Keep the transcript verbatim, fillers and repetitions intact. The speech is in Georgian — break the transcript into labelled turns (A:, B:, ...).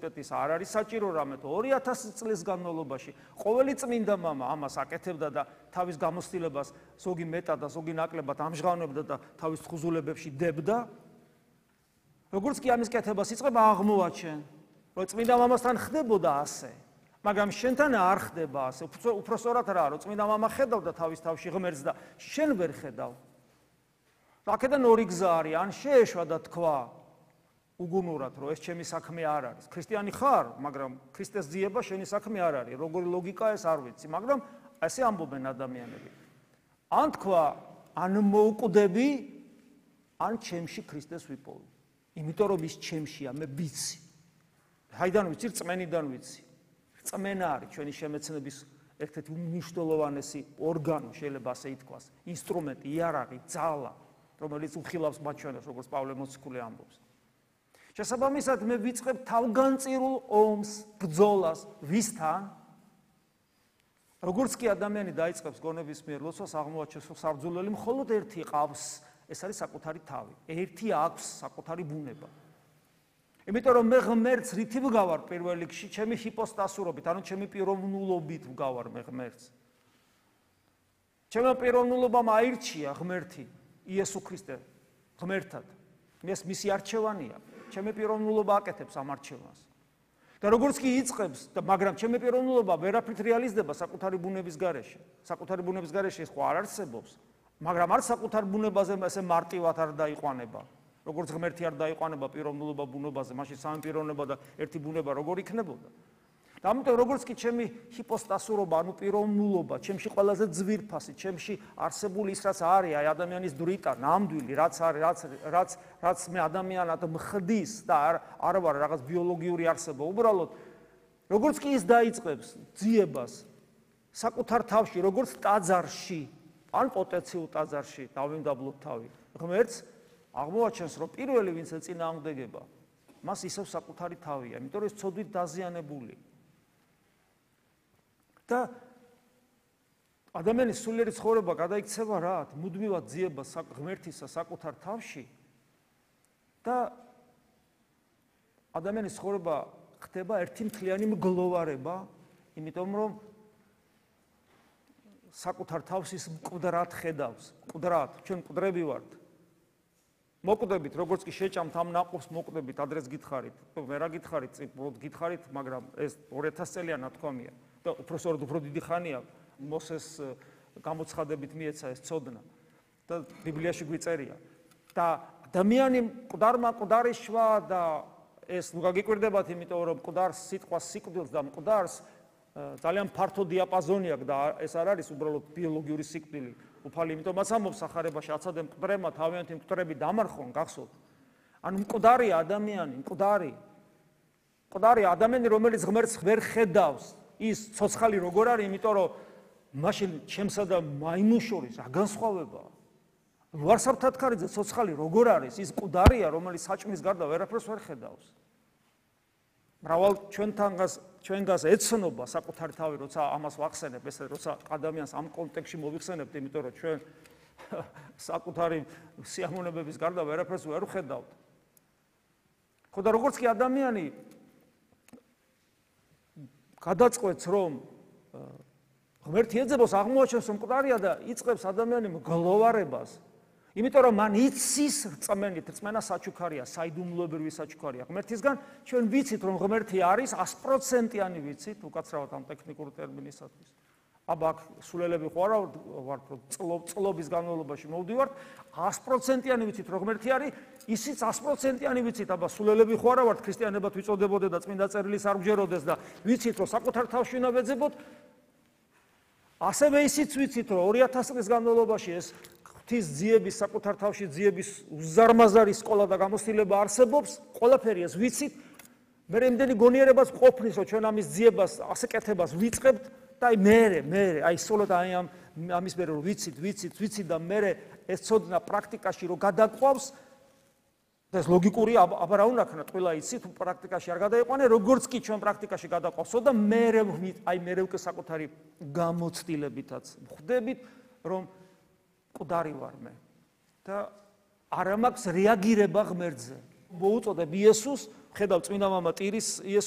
A: უნივერსიტეტის არ არის საჭირო რამე თუ ორი ათასი წლის განმავლობაში ყოველი წმინდა მამა ამას აკეთებდა და თავის გამოცდილებას ზოგი მეტად და ზოგი ნაკლებად ამჟღავნებდა და თავის თხზულებებში დებდა. როგორც კი ამის კეთებას იწყება აღმოაჩენ, რომ წმინდა მამასთან ხდებოდა ასე, მაგრამ შენთან არ ხდება ასე. უფრო სწორად რა, რომ წმინდა მამა ხედავდა თავის თავში ღმერთს და შენ ვერ ხედავ. აქედან ორი გზა არის, ან შეეშვა და თქვა უგუნურად, რომ ეს ჩემი საქმე არ არის. ქრისტიანი ხარ, მაგრამ ქრისტეს ძიება შენი საქმე არ არის. როგორი ლოგიკაა ეს არ ვიცი, მაგრამ ასე ამბობენ ადამიანები. ან თქვა, ან მოუკვდები, ან ჩემში ქრისტეს ვიპოვი. იმიტომ რომ ის ჩემშია, მე ვიცი. ჰაიდან ვიცი, რწმენიდან ვიცი. რწმენა არის ჩვენი შემეცნების ერთ-ერთი უმნიშვნელოვანესი ორგანო, შეიძლება ასე ითქვას, ინსტრუმენტი, იარაღი, ძალა, რომელიც უხილავს მათ ჩვენებს, როგორც პავლე მოციქული ამბობს. შესაბამისად, მე ვიწყებ თავგანწირულ ომს, ბრძოლას, ვისთან? როგორც კი ადამიანი დაიწყებს გონების მიერ ლოცვას, აღმოაჩენს, რომ საბრძოლელი მხოლოდ ერთი ყავს, ეს არის საკუთარი თავი. ერთი აქვს საკუთარი ბუნება. იმიტომ რომ მე ღმერთს რითი ვგავარ პირველ რიგში, ჩემი ჰიპოსტასურობით, ანუ ჩემი პიროვნულობით ვგავარ მე ღმერთს. ჩემო პიროვნულობამ აირჩია ღმერთი, იესო ქრისტე ღმერთად. ეს მისი არჩევანია. ჩემი პიროვნულობა აკეთებს ამ არჩევანს. და როგორც კი იწყებს, მაგრამ ჩემი პიროვნულობა ვერაფრით რეალიზდება საკუთარი ბუნების გარეშე. საკუთარი ბუნების გარეშე ეს ხო არ არსებობს, მაგრამ არ საკუთარ ბუნებაზე ესე მარტივად არ დაიყვანება. როგორც ღმერთი არ დაიყვანება პიროვნულობა ბუნებაზე, მაშინ სამი პიროვნება და ერთი ბუნება როგორ იქნებოდა? და ამიტომ როგორც კი ჩემი ჰიპოსტასურობა, ანუ პიროვნულობა, ჩემში ყველაზე ძვირფასი, ჩემში არსებული ის რაც არის, აი ადამიანის დრიტა, ნამდვილი, რაც არის, რაც რაც რაც მე ადამიანად მხდის და არ არ ვარ რაღაც ბიოლოგიური არსება, უბრალოდ როგორც კი ის დაიწყებს ძიებას საკუთარ თავში, როგორც ტაძარში, ან პოტენციურ ტაძარში დავიმდაბლოთ თავი. ღმერთს აღმოაჩენს, რომ პირველი ვინც ეწინააღმდეგება, მას ისევ საკუთარი თავია, იმიტომ რომ ის ცოდვით დაზიანებული. და ადამიანის სულიერი ცხოვრება გადაიქცევა რა? მუდმივად ძიება ღმერთისა საკუთარ თავში და ადამიანის ცხოვრება ხდება ერთი მთლიანი მგლოვარება, იმიტომ რომ საკუთარ თავს ის მკვდრად ხედავს. მკვდრად, ჩვენ მკვდრები ვართ. მოკვდებით, როგორც კი შეჭამთ ამ ნაყოფს, მოკვდებით, ადრეს გითხარით. მე რა გითხარით, უბრალოდ გითხარით, მაგრამ ეს ორი ათასი წელია ნათქვამია. და უფრო სწორად უფრო დიდი ხანია მოსეს გამოცხადებით მიეცა ეს ცოდნა და ბიბლიაში გვიწერია. და ადამიანი მკვდარმა მკვდარი შვა და ეს ნუ გაგიკვირდებათ, იმიტომ რომ მკვდარს სიტყვა სიკვდილს და მკვდარს ძალიან ფართო დიაპაზონი აქვს და ეს არ არის უბრალოდ ბიოლოგიური სიკვდილი. უფალი იმიტომაც ამბობს სახარებაში, აცადე მკვდრებმა თავიანთი მკვდრები დამარხონ, გახსოვთ. ანუ მკვდარია ადამიანი, მკვდარი. მკვდარი ადამიანი, რომელიც ღმერთს ვერ ხედავს. ის ცოცხალი როგორ არის, იმიტომ რომ მაშინ ჩემსა და მაიმუნს შორის რა განსხვავებაა? ლუარსაბთათქარიძე ცოცხალი როგორ არის? ის მკვდარია, რომელიც საჭმის გარდა ვერაფერს ვერ ხედავს. მრავალ ჩვენთანგას ჩვენგას ეცნობა საკუთარი თავი, როცა ამას ვახსენებ, ესე როცა ადამიანს ამ კონტექსტში მოვიხსენებთ, იმიტომ რომ ჩვენ საკუთარი სიამოვნებების გარდა ვერაფერს ვერ ვხედავთ. ხო და როგორც კი ადამიანი გადაწყვეტს, რომ ღმერთი ეძებოს, აღმოაჩენს, რომ მკვდარია და იწყებს ადამიანი მგლოვარებას. იმიტომ რომ მან იცის რწმენით, რწმენა საჩუქარია, საიდუმლოებრივი საჩუქარია. ღმერთისგან ჩვენ ვიცით, რომ ღმერთი არის sto პროცენტიანი ვიცით, უკაცრავად ამ ტექნიკური ტერმინისათვის. აბა აქ სულელები ხო არა ვართ, რომ წლობის განმავლობაში მოვდივართ, sto პროცენტიანი ვიცით, რომ ღმერთი არის, ისიც sto პროცენტიანი ვიცით, აბა სულელები ხო არა ვართ, ქრისტიანებად ვიწოდებოდეთ და წმინდა წერილიც არ გვჯეროდეს და ვიცით, რომ საკუთარ თავში უნდა ვეძებოთ. ასევე ისიც ვიცით, რომ ორი ათასი წლის განმავლობაში ეს ღვთის ძიების, საკუთარ თავში ძიების უზარმაზარი სკოლა და გამოცდილება არსებობს, ყველაფერი ეს ვიცით. მე იმდენი გონიერებას ყოფნის, რომ ჩვენ ამის ძიებას, ასე კეთებას ვიწყებთ და აი მერე, მერე, აი სულოთ აი ამ ამის მერე რომ ვიცით, ვიცით, ვიცით და მერე ეს ცოდნა პრაქტიკაში რომ გადაყვავს და ეს ლოგიკური აბა რა უნდა ქნა, ყველა იცით, პრაქტიკაში არ გადაიყვანე, როგორც კი ჩვენ პრაქტიკაში გადაყვავსო და მერე აი მერე უკვე საკუთარი გამოცდილებითაც ვხვდებით, რომ მკვდარი ვარ მე და არ მაქვს რეაგირება ღმერთზე. მოუწოდებ იესოს, ხედავ წმინდა მამა ტირის იესოს